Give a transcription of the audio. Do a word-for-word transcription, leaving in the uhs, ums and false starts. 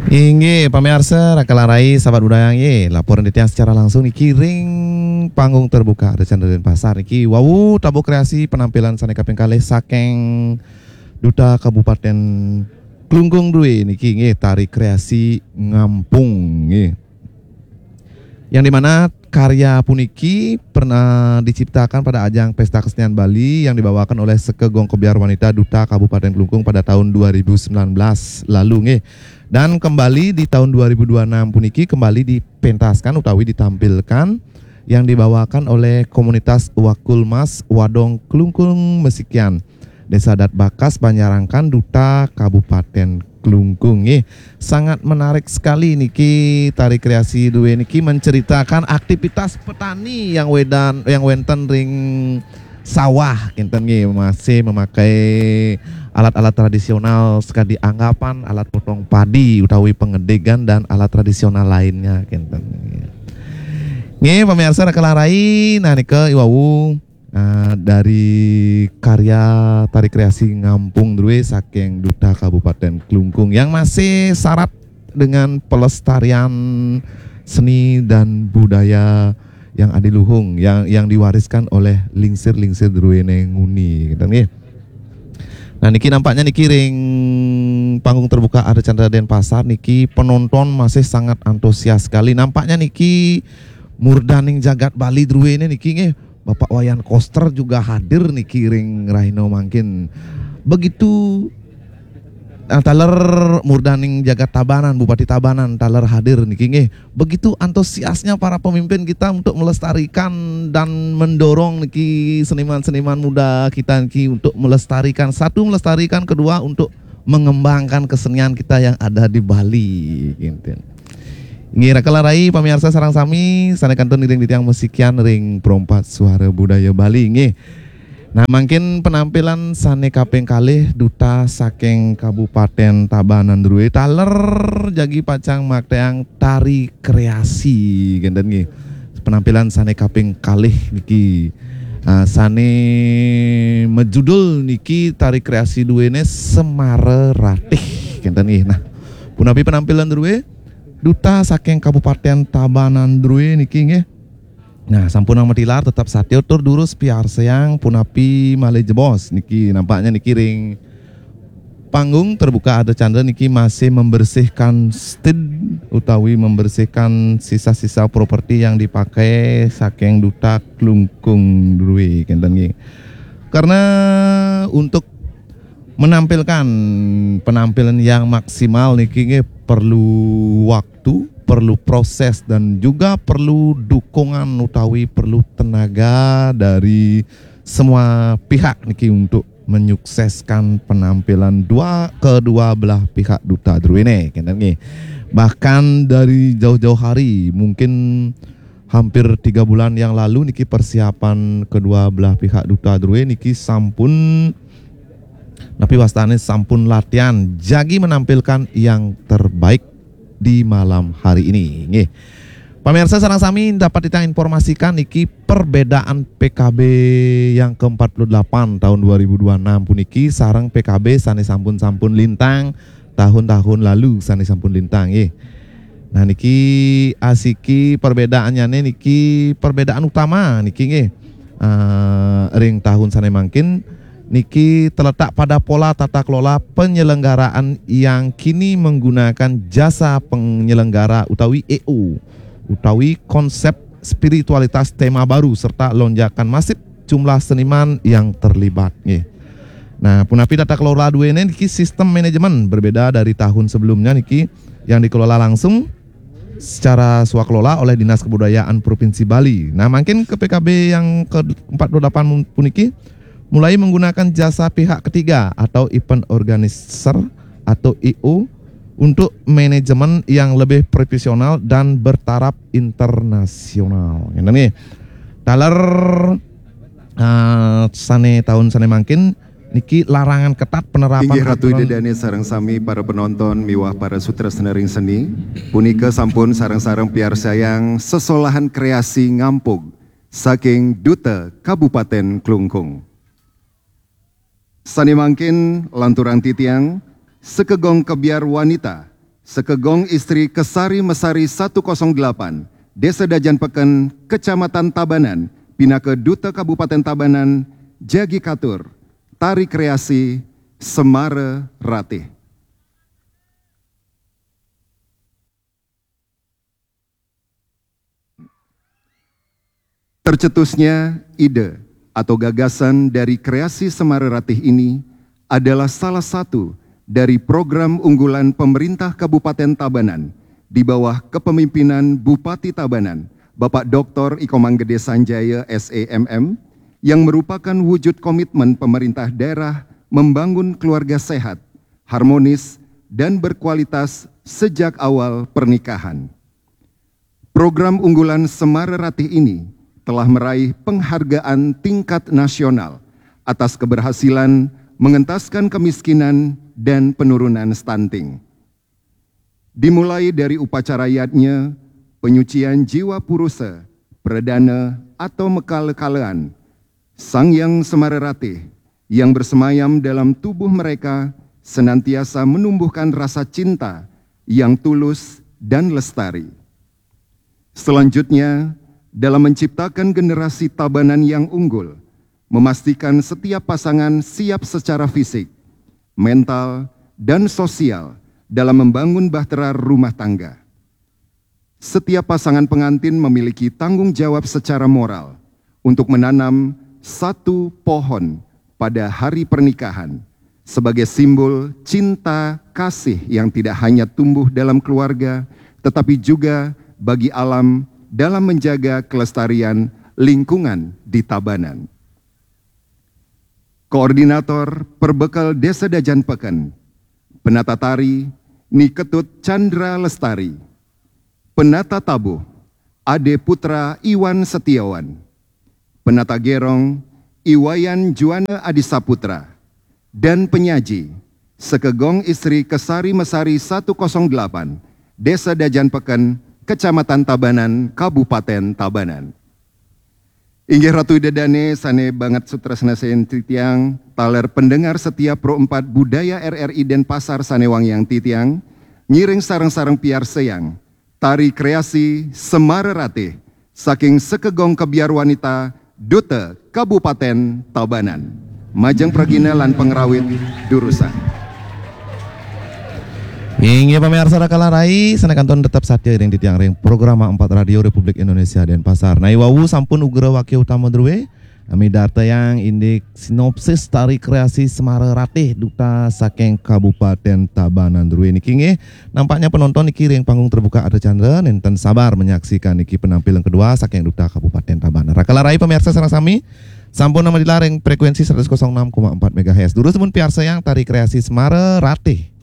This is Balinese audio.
Inggih, pamiarsa, Raka lan Rai, sahabat budaya, nggih, laporan titiang secara langsung niki ring panggung terbuka Ardha Candra Denpasar niki wau tabuh kreasi penampilan sane kaping kalih saking Duta Kabupaten Klungkung Drue niki, nggih, tari kreasi Ngampung, nggih. Yang dimana karya puniki pernah diciptakan pada ajang Pesta Kesenian Bali yang dibawakan oleh Seka Gong Kebyar Wanita Duta Kabupaten Klungkung pada tahun dua ribu sembilan belas lalu, nggih. Dan kembali di tahun dua ribu dua enam puniki kembali dipentaskan utawi ditampilkan yang dibawakan oleh komunitas Wakulmas Wadong Klungkung Mesikian, Desa Adat Bakas, Banjarangkan, Duta Kabupaten Klungkung, nggih. Sangat menarik sekali niki tari kreasi drue niki menceritakan aktivitas petani yang wedan yang wenten ring sawah kinten, nggih, masih memakai alat-alat tradisional sekadi anggapan, alat potong padi utawi pengedigan dan alat tradisional lainnya kinten, nggih. Nggih, pamiarsa, Raka lan Rai, nah nika iwau, eh, dari karya tari kreasi Ngampung Drue saking Duta Kabupaten Klungkung yang masih syarat dengan pelestarian seni dan budaya yang adiluhung, yang yang diwariskan oleh lingsir-lingsir druene nguni, gitu, nggih. Nah, niki nampaknya niki ring panggung terbuka Ardha Candra Denpasar niki penonton masih sangat antusias sekali. Nampaknya niki murdaning jagat Bali druene niki, nggih. Bapak Wayan Koster juga hadir niki ring rahina mangkin. Begitu, nah, taler murdaning jagat Tabanan, Bupati Tabanan taler hadir niki, nggih. Begitu antusiasnya para pemimpin kita untuk melestarikan dan mendorong niki seniman-seniman muda kita niki untuk melestarikan, satu, melestarikan, kedua, untuk mengembangkan kesenian kita yang ada di Bali, gitu. Nggih, Raka lan Rai, pamiarsa sareng sami, sane kantun iring titiang masikian ring Perompak Suara Budaya Bali, nggih. Nah, mangkin penampilan sane kaping kalih Duta saking Kabupaten Tabanan Drue taler jagi pacang makteang tari kreasi, kinten, nggih. Penampilan sane kaping kalih niki, ah, sane majudul niki tari kreasi druene Semara Ratih, kinten, nggih. Nah, punapi penampilan drue? Duta saking Kabupaten Tabanan Drue niki, nggih. Nah, sampunang matilar, tetap satia tur durus piarsayang punapi malih jebos niki, nampaknya niki ring panggung terbuka Ardha Candra niki masih membersihkan stage utawi membersihkan sisa-sisa properti yang dipakai saking Duta Klungkung Drue, kinten, nggih. Karena untuk menampilkan penampilan yang maksimal niki, nggih, perlu waktu, perlu proses, dan juga perlu dukungan utawi perlu tenaga dari semua pihak niki untuk menyukseskan penampilan dua kedua belah pihak Duta druene, kinten, nggih. Bahkan dari jauh-jauh hari, mungkin hampir tiga bulan yang lalu niki, persiapan kedua belah pihak Duta drue niki sampun, napi wastane, sampun latihan jagi menampilkan yang terbaik di malam hari ini, nggih. Pamiarsa sareng sami, dapat titiang informasikan niki perbedaan P K B yang keempat puluh delapan tahun dua ribu dua enam puniki sareng P K B sane sampun-sampun lintang tahun-tahun lalu, sane sampun lintang, nggih. Nah, niki asiki perbedaannyane niki, perbedaan utama niki, nggih. Eh, ring tahun sane mangkin niki terletak pada pola tata kelola penyelenggaraan yang kini menggunakan jasa penyelenggara utawi E O, utawi konsep spiritualitas tema baru serta lonjakan masif jumlah seniman yang terlibat, nggih. Nah, punapi tata kelola druene niki sistem manajemen berbeda dari tahun sebelumnya niki yang dikelola langsung secara swakelola oleh Dinas Kebudayaan Provinsi Bali. Nah, mangkin ke P K B yang ke empat puluh delapan mun-, puniki mulai menggunakan jasa pihak ketiga atau event organizer atau E O untuk manajemen yang lebih profesional dan bertaraf internasional. Ngene nggih. Taler, eh, sane tahun sane mangkin niki larangan ketat penerapan. Inggih, Ratu aturan. Ida dane sareng sami para penonton miwah para sutresna ring seni. Punika sampun sareng-sareng piarsayang sesolahan kreasi Ngampung saking Duta Kabupaten Klungkung. Sane mangkin lanturang titiang, Seka Gong Kebyar Wanita Sekegong istri Kesari Mesari satu kosong delapan, Desa Dajan Peken, Kecamatan Tabanan, pinaka Duta Kabupaten Tabanan, jagi katur, tari kreasi Semara Ratih. Tercetusnya ide atau gagasan dari kreasi Semara Ratih ini adalah salah satu dari program unggulan pemerintah Kabupaten Tabanan di bawah kepemimpinan Bupati Tabanan, Bapak Doktor Iko Manggede Sanjaya, S E M M, yang merupakan wujud komitmen pemerintah daerah membangun keluarga sehat, harmonis, dan berkualitas sejak awal pernikahan. Program unggulan Semara Ratih ini telah meraih penghargaan tingkat nasional atas keberhasilan mengentaskan kemiskinan dan penurunan stunting. Dimulai dari upacara yadnya, penyucian jiwa purusa, pradana atau mekale-kalean, Sang Hyang Semara Ratih yang bersemayam dalam tubuh mereka senantiasa menumbuhkan rasa cinta yang tulus dan lestari. Selanjutnya, dalam menciptakan generasi Tabanan yang unggul, memastikan setiap pasangan siap secara fisik, mental, dan sosial dalam membangun bahtera rumah tangga. Setiap pasangan pengantin memiliki tanggung jawab secara moral untuk menanam satu pohon pada hari pernikahan sebagai simbol cinta kasih yang tidak hanya tumbuh dalam keluarga, tetapi juga bagi alam dalam menjaga kelestarian lingkungan di Tabanan. Koordinator Perbekal Desa Dajan Peken, penata tari Ni Ketut Chandra Lestari, penata tabuh Ade Putra Iwan Setiawan, penata gerong Iwayan Juana Adi Saputra, dan penyaji Sekegong Istri Kesari Mesari satu kosong delapan, Desa Dajan Peken, Kecamatan Tabanan, Kabupaten Tabanan. Inggih Ratu Ida Dane sane banget sutresna sen titiang, taler pendengar setia Pro empat Budaya R R I Denpasar sane wangiang titiang, ngiring sareng-sareng piarsayang tari kreasi Semara Ratih saking Sekegong Kebiar Wanita Duta Kabupaten Tabanan. Majeng pragina lan pangrawit durusang. Inggih pamiarsa Rakala Rai, sane kantun tetep satia ring titiang ring Programa empat Radio Republik Indonesia Denpasar. Nai wau sampun ugra wakya utama druwe, midartayang indik sinopsis tari kreasi Semara Ratih Duta saking Kabupaten Tabanan druwe niki nggih. Nampaknya penonton niki ring panggung terbuka Arda Chandra nenten sabar menyaksikan niki penampilan kedua saking Duta Kabupaten Tabanan. Rakala Rai pamiarsa sareng sami, sampun nama dilaring frekuensi seratus kosong enam koma empat megahertz. Durus mun piarsayang tari kreasi Semara Ratih.